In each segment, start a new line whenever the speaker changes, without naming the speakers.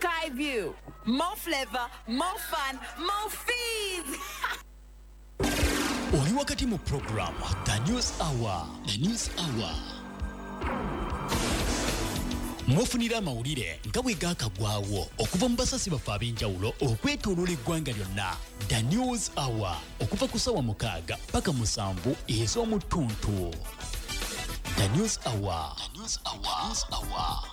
Skyview. More flavor, more fun, more fees.
Oli wakati mu program The News Hour. The News Hour. Mwofunira amawulire nga bwe gaakagwawo okuva mu basasi baffe ab'enjawulo okwetooloola eggwanga lyonna. The News Hour okuva ku ssaawa 6 paka 7 ez'omu ttuntu. The News Hour. The News Hour. The News Hour.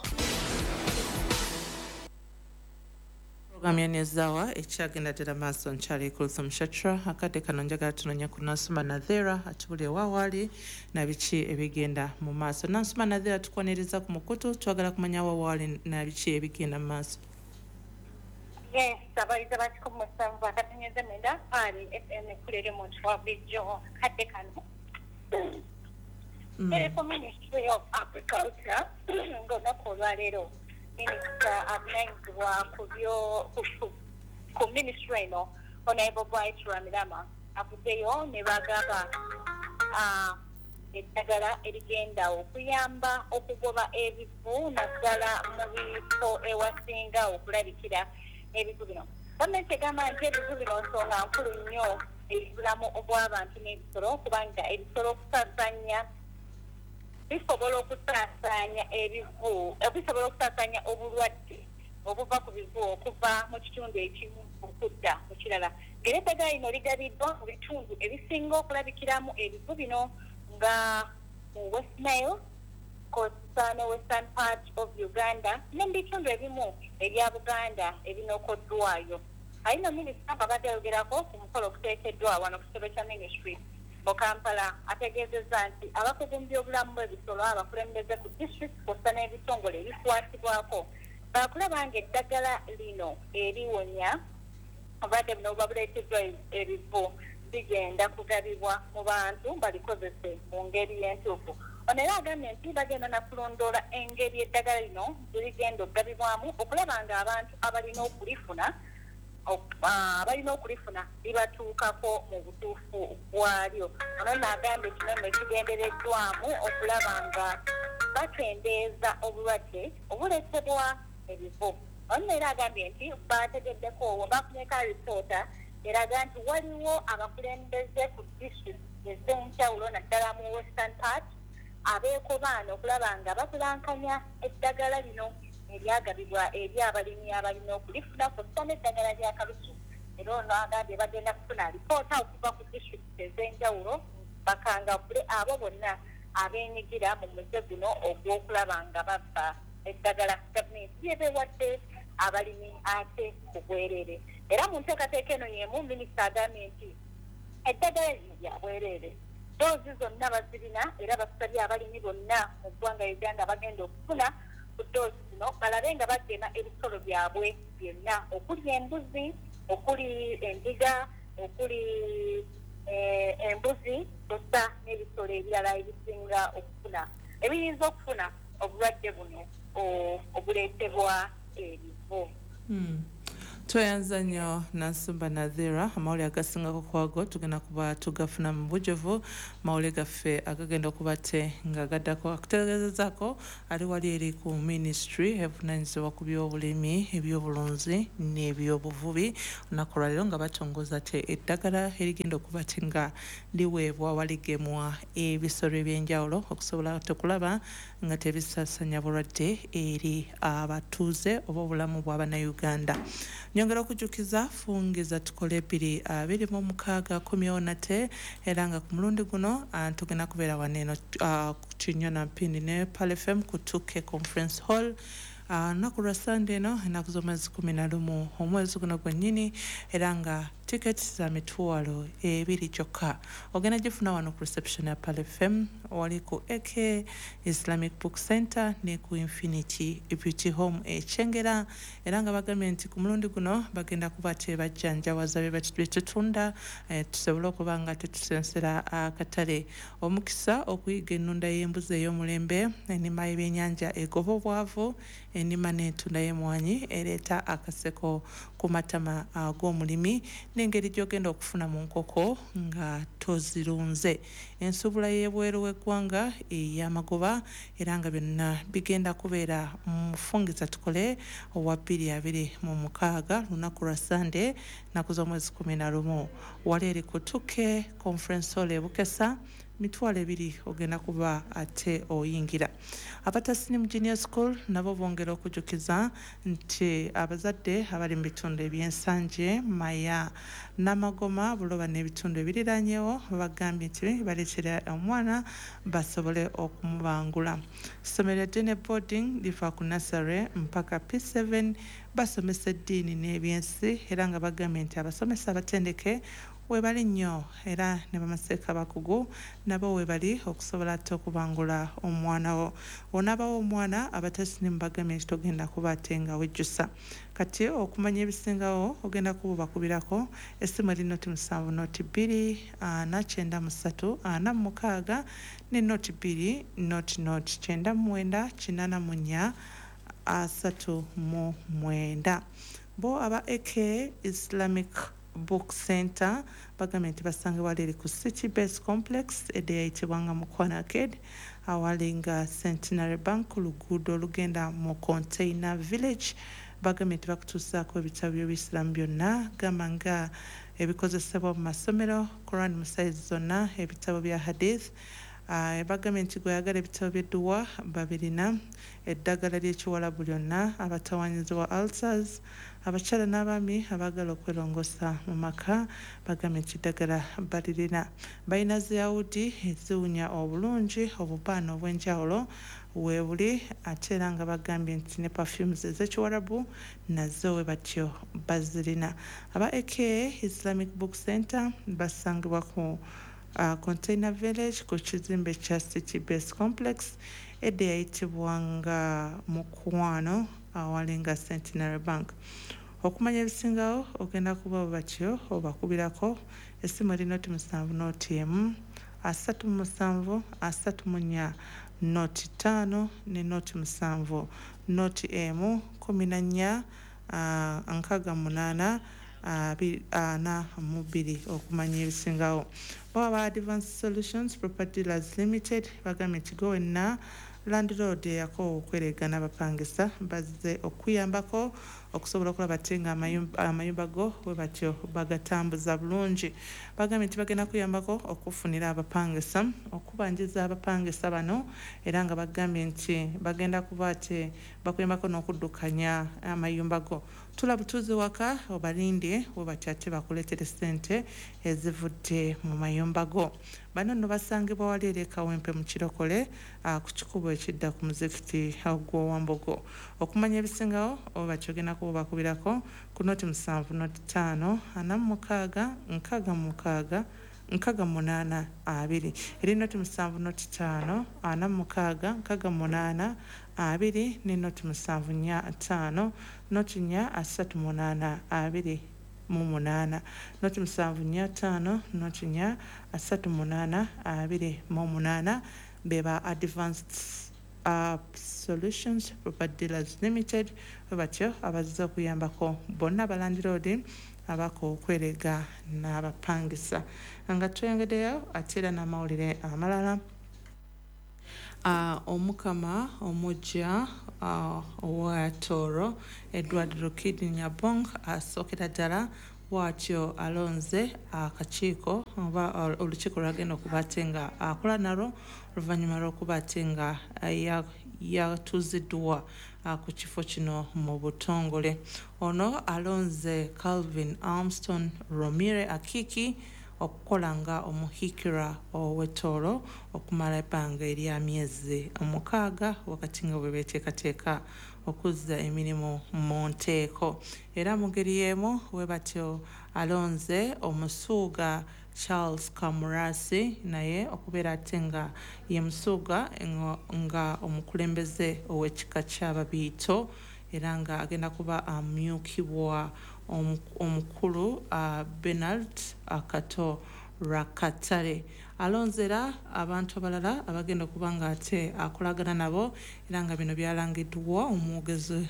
Program ya News Hour ekyagenda ddala maaso. Nkyali Kulthum Shatra. Akadde kano njagala tunoonya ku Nansuma Nadhera atubulire wa waali na biki ebigenda mu maaso. Nansuma Nadhera, tukwaniriza ku mukutu, twagala kumanya wa waali na biki ebigenda mu maaso.
Yes, abayizi ba 107.9 Pearl FM ekulere muntu wa bulijjo kadde kano. Ku Ministry of Agriculture ng'olunaku olwaleero minisita avunaanyizibwa ku byo ku ministry eno, Honorable Bright Rwamirama, avuddeyo ne bagaba eddagala erigenda okuyamba okugoba ebivu naddala mu bifo ewasinga okulabikira ebivu bino. Gavumenti egamba nti ebivu bino nsonga nkulu nnyo ebulamu obw'abantu n'ebisolo, kubanga ebisolo okusaasaanya bisobola okusaasaanya ebivu, bisobola okusaasaanya obulwadde obuva ku bivu okuva mu kitundu ekimu okudda mu kirala. Ng'era eddagala lino ligabiddwa mu bitundu ebisinga okulabikiramu ebivu bino nga mu West Nile, Coastal ne Western part of Uganda ne mu bitundu ebimu ebya Buganda ebinokoddwayo. Ayina minisita abadde ayogerako ku mukolo okuteekeddwa wano ku kitebe kya ministry mu Kampala, ategeezezza nti abakugu mu byobulamu bw'ebisolo, abakulembeze ku district kw'ossa n'ebitongole ebikwatibwako baakulaba ng'eddagala lino eriwonya obulwadde buno buba buleeteddwa ebivu bigenda kugabibwa mu bantu balikozese mu ngeri y'entuufu. Ono era agambye nti bagenda nakulondoola engeri eddagala lino gye ligenda okugabibwamu okulaba ng'abantu abalina okulifuna libatuukako mu butuufu bwalyo. Ono nno agambye kino nno kigendereddwamu okulaba nga bakendeeza obulwadde obuleetebwa ebivu. Ono era agambye nti bategeddeko, bafuneko alipoota eraga nti waliwo abakulembeze ku district ez'enjawulo naddala mu Western part abeekobaana okulaba nga bakulankanya eddagala lino eryagabibwa eri abalimi abalina okulifuna kw'ossa n'eddagala lya kalusu. Era ono agambye bagenda kufuna alipoota okuva ku district ez'enjawulo bakangavule abo bonna abeenyigira mu muze guno ogw'okulaba nga babba eddagala gavumenti lyebeewadde abalimi ate ku bwereere. Era mu nteekateeka eno y'emu, minisita agambye nti eddagala lino lya bwereere, doozi zonna bazirina, era basabye abalimi bonna mu ggwanga Uganda bagenda okufuna ku doozi zino balabe nga bagema ebisolo byabwe byonna okuli embuzi, okuli endiga, okuli embuzi kw'ossa n'ebisolo ebirala ebisinga okufuna, ebiyinza okufuna obulwadde buno obuleetebwa ebivu.
Tweyanza nnyo Nansumba Nadhira. Amawulire agasingako kwago tugenda kuba tugafuna mu bujuvu mawulire gaffe agagenda okuba te nga gaddako. Akutegeezezaako ali wali eri ku ministry evunanyizibwa ku byobulimi, ebyobulunzi n'ebyobuvubi, olunaku lwaleero nga batongoza te eddagala erigenda okuba te nga liweebwa waligemwa ebisolo ebyenjawulo okusobola tekulaba nga tebisaasanya bulwadde eri abatuuze oba obulamu bw'abannayuganda. Nyongera okujjukiza fungiza tukole 2026 komyewo nate, era nga ku mulundi guno tugenda kubeera wano eno ku Kinyona Mpindi ne Pearl FM ku 2K Conference Hall, lunaku lwa Sande eno, ennaku z'omwezi 11 omwezi guno gwennyini, era nga tiketi za 20,000 kyokka. Ogenda gifuna wano ku reception ya Pearl FM, wali ku AK Islamic Book Center ne ku Infinity Beauty Home Ekyengera. Era nga bagambye nti ku mulundi guno bagenda kuba tebajjanjawaza bye tutunda, tusobole okuba nga tetusensera akatale. Omukisa okuyiga ennunda y'embuzi ey'omulembe, ennima y'ebyennyanja egoba obwavu. Ennima n'entunda y'emmwanyi ereeta akaseko ku matama ag'omulimi n'engeri gy'ogenda okufuna mu nkoko nga tozirunze. Ensuubula y'ebweru w'eggwanga ey'amagoba, era nga byonna bigenda kubeera mu Fungiza Tukole owa 2026, lunaku lwa Sande, nnaku z'omwezi 11, wali eri ku 2K Conference Hall e Bukesa. 20,000 ogenda kuba ate oyingira. Abatasinimu Junior School nabo bongera okujjukiza nti abazadde abali mu bitundu eby'Ensanje, Maya, Namagoma, Buloba n'ebitundu ebiriranyewo, bagambye nti baleetera omwana basobole okumubangula. Ssomero lya Dene Boarding liva ku nursery mpaka P7, basomesa eddiini n'ebyensi, era nga bagambye nti abasomesa abatendeke webali nnyo, era ne bamaseeka bakugu nabo webali okusobola ate okubangula omwana wo. Onaabawo omwana, abatasinimu bagambye nti togenda kuba ate nga wejjusa. Kati okumanya ebisingawo ogenda kuba obakubirako essimu eri 0 7 02 4 93 46 ne 02 00 99 84 39. Bo aba AK Islamic Book Center bagambye nti basangibwa eri ku City Base Complex, edda eyayitibwanga Mukwano Arcade, awali nga Centenary Bank, ku luguudo olugenda mu Container Village. Bagambye nti bakutuusaako ebitabo by'obuyisiraamu byonna, gamba nga ebikozesebwa mu masomero, Quran mu sayizi zonna, ebitabo bya hadith. Bagambye nti gweyagala ebitabo by'edduwa babirina, eddagala ly'ekiwalabu lyonna, abatawanyizibwa ulcers, abakyala n'abaami abaagala okwerongoosa mu maka, bagambye nti eddagala balirina. Balina ziyawudi eziwunya obulungi, obubaana obw'enjawulo weebuli, ate era nga bagambye nti ne perfumes ez'ekiwarabu nazo we batyo bazirina. Aba Aka Islamic Book Center basangibwa ku Container Village, ku kizimbe kya City Base Complex, edda eyayitibwanga Mukwano, awali nga Centenary Bank. Okumanya ebisingawo ogenda kuba batyo obakubirako essimu eri 0 7 0 1 37 34 05 ne 0 7 0 1 14 68 42 okumanya ebisingawo. Bo aba Advanced Solutions Property Dealers Limited bagambye nti gwe wenna landlord eyakoowa okweregana abapangisa, bazze okuyambako okusobola okulaba ate nga amayumba go bwe batyo bagatambuza bulungi. Bagambye nti bagenda kuyambako okufunira abapangisa, okubanjiza abapangisa bano, era nga bagambye nti bagenda kuba ate bakuyambako n'okuddukanya amayumba go. Tula butuuzi waka obalinde, we batyo ate bakuleetere ssente ezivudde mu mayumba go. Bano nno basangibwa wali eri e Kawempe mu Kirokole, ku kikubo ekidda ku muzikiti gw'Owambogo. Okumanya ebisingawo oba bakyogenda kuba bakubirako ku 07 05 46 66 68 2, eri 07 05 46 68 2 ne 07 4 5 04 38 28, 07 4 5 04 38 28. Beba Advanced Solutions Property Dealers Limited bwe batyo abazze okuyambako bonna abalandiroodi abako okwerega n'abapangisa. Nga tweyongeddeyo ate era n'amawulire amalala, omukama omujja owa Tooro, Edward Rukidi Nyabong, asookera ddala bw'atyo alonze akakiiko oba olukiiko lwagenda okuba ate nga akola nalwo oluvannyuma lw'okuba ate nga yatuuziddwa ku kifo kino mu butongole. Ono alonze Calvin Armston Romire Akiki okukola nga omuhikira ow'Ettooro okumala ebbanga erya myezi 6, wakati nga bwe beeteekateeka okuzza emirimu mu nteeko. Era mu ngeri y'emu we batyo alonze omusuuga Charles Kamurasi naye okubeera ate nga ye musuuga nga omukulembeze ow'ekika ky'Ababiito, era nga agenda kuba amyukibwa omukulu Bernard Kato Rakatale. Alonzera abantu abalala abagenda okuba nga ate akolagana nabo, era nga bino byalangiddwa omwogezi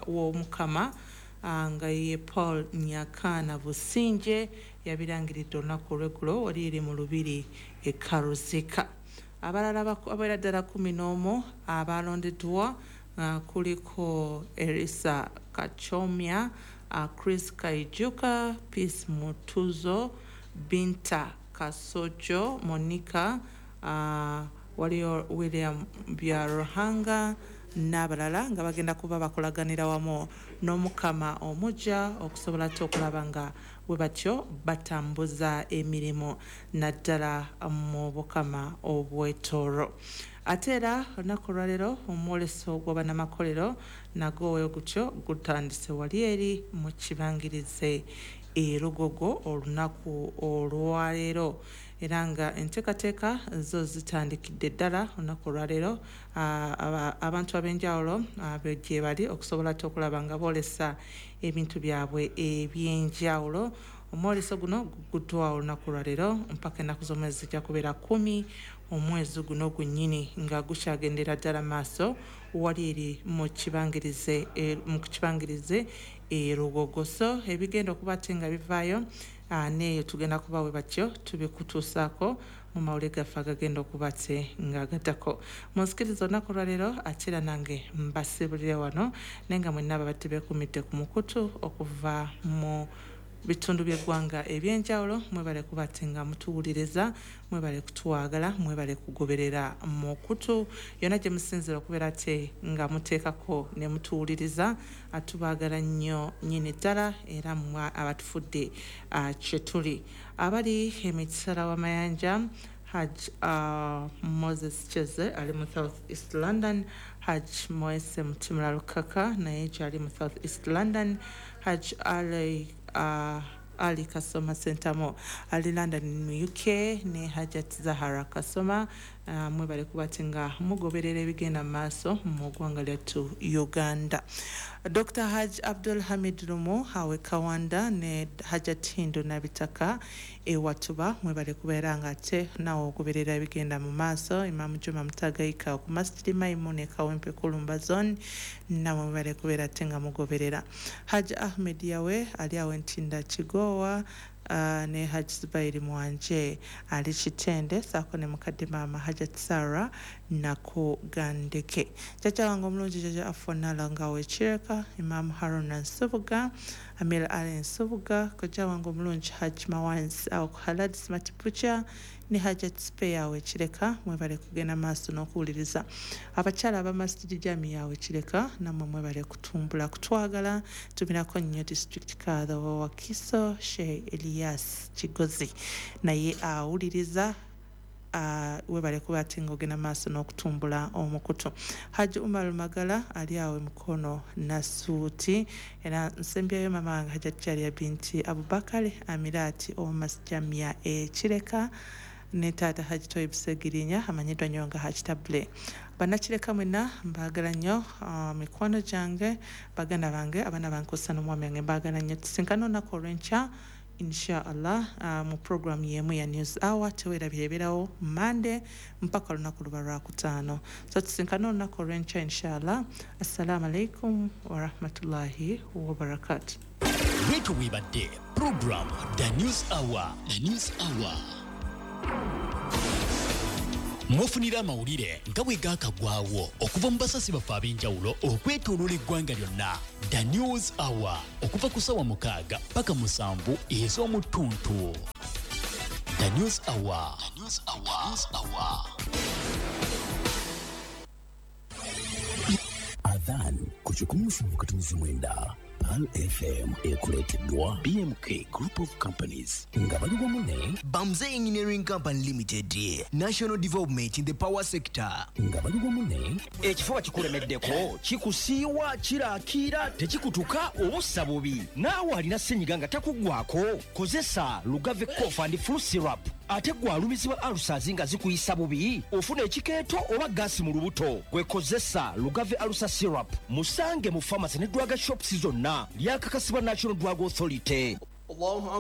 w'Omukama nga ye Paul Nyakana Businje, yabirangiridde olunaku olw'eggulo wali eri mu Lubiri e Karuzika. Abalala abawerera ddala 11 abalondeddwa kuliko Erisa Kachomya, Chris Kaijuka, Peace Mutuzo, Binta Kasojo, Monica, waliyo William Byaruhanga n'abalala nga bagenda kuba bakolaganira wamu n'Omukama omujja okusobola ate okulaba nga bwe batyo batambuza emirimu naddala mu Bukama obwetooro. Ate era olunaku olwaleero omwoleso gw'abannamakolero nagwo we gutyo gutandise wali eri mu kibangirize e Lugogo olunaku olwaleero, era nga enteekateeka zo zitandikidde ddala olunaku olwaleero. Abantu ab'enjawulo gye bali okusobola ate okulaba nga boolesa ebintu byabwe ebyenjawulo. Omwoleso guno guguddwa olunaku olwaleero mpaka ennaku z'omwezi zijja kubeera 10 omwezi guno gwennyini, nga gukyagendera ddala maaso wali eri mu kibangirize e Lugogo. So ebigenda okuba ate nga bivaayo neeyo tugenda kuba we batyo tubikutuusaako mu mawulire gaffe agagenda okuba ate nga gaddako. Munsikiriza olunaku olwaleero ate era nange mbasibulire wano, naye nga mwenna ababadde beekumidde ku mukutu okuva mu bitundu by'eggwanga ebyenjawulo, mwebale kuba ate nga mutuwuliriza, mwebale kutwagala, mwebale kugoberera mukutu yonna gye musinziira okubeera ate nga muteekako ne mutuwuliriza. Atubaagala nnyo nnyini ddala, era mmwe abatufudde kye tuli. Abali emitala w'amayanja, Hajj Moses Cheze ali mu South East London, Hajj Moese Mutimula Lukaka naye gyali mu South East London, Hajj Ali Kasoma Sentamo ali London mu UK, ne Hajat Zahara Kasoma. Mwebale kuba ate nga mugoberera ebigenda mu maaso mu ggwanga lyattu Uganda. Dr. Hajj Abdul Hamid Lumu awe Kawanda ne Hajat Hindu Nabitaka ewatuba, mwebale kubeera nga ate nawe ogoberera ebigenda mu maaso. Imam Juma Mutagaika ku Masjid Maimune Kawempe Kulumba Zone, namwe mwebale kubeera ate nga mugoberera. Hajj Ahmed Yawe ali awo Ntinda Kigowa, ne Hajj Zubairi Mwanje ali Kitende, saako ne mukadde maama Hajat Sarah Nakugandeke. Jjajja wange omulungi Jjajja Afonala nga wekireka, Imam Haruna Nsubuga, Amir Ali Nsubuga, kojja wange omulungi Hajj Mawansi awo ku Halad Smart Butcher ne Hajat Speya wekireka, mwebale kugenda maaso n'okuwuliriza. Abakyala aba Masjid Jamia wekireka, nammwe mwebale kutumbula kutwagala. Tumirako nnyo district kadha wa Wakiso Sheikh Elias Kigozi naye awuliriza, webale kuba ate ng'ogenda maaso n'okutumbula omukutu. Hajji Umar Magala ali awo Mukono Nasuuti, era nsembyayo mama wange Hajjat Jalia binti Abubakari Amirati owa Ekireka ne taata Hajji Toyib Segirinya amanyiddwa nnyo nga Hajji Table. Bannakireka mwenna mbaagala nnyo, mikwano gyange, baganda bange, abaana bange kw'ossa n'omwami wange mbaagala nnyo. Tusinkane olunaku olw'enkya inshallah mu program yemu ya News Hour. Teweerabira ebeerawo Monday mpaka olunaku luba lwakutaano. So tusinkane olunaku olw'enkya inshallah. Assalamu alaikum warahmatullahi wabarakatuh.
Bwetyo bwebadde program The News Hour. The News Hour. Mufunira amawulire nga bwe gaakaggwawo okuva mu basasi baffe ab'enjawulo okwetooloola eggwanga lyonna. The News Hour okuva ku ssaawa 6 paka 7 ez'omuttuntu. The News Hour. The News Hour. The News Hour.
Adhan ku 107.9 Pearl FM ekuleeteddwa BMK Group of Companies nga bali wamu ne
Bamze Engineering Company Limited, National Development in the Power Sector
nga bali wamu ne
ekifuba kikulemeddeko, kikusiiwa, kirakiira, tekikutuka obussa bubi. Naawe alina ssenyiga nga takuggwako, kozesa Lugave Cough and Flu Syrup. Ate gwe alumizibwa ulcers nga zikuyisa bubi, ofuna ekikeeto oba gaasi mu lubuto, gwe kozesa Lugave Ulcer Syrup. Musange mu pharmacy ne drug shops zonna. Lyakakasibwa National Drug Authority.
Allahu Akbar.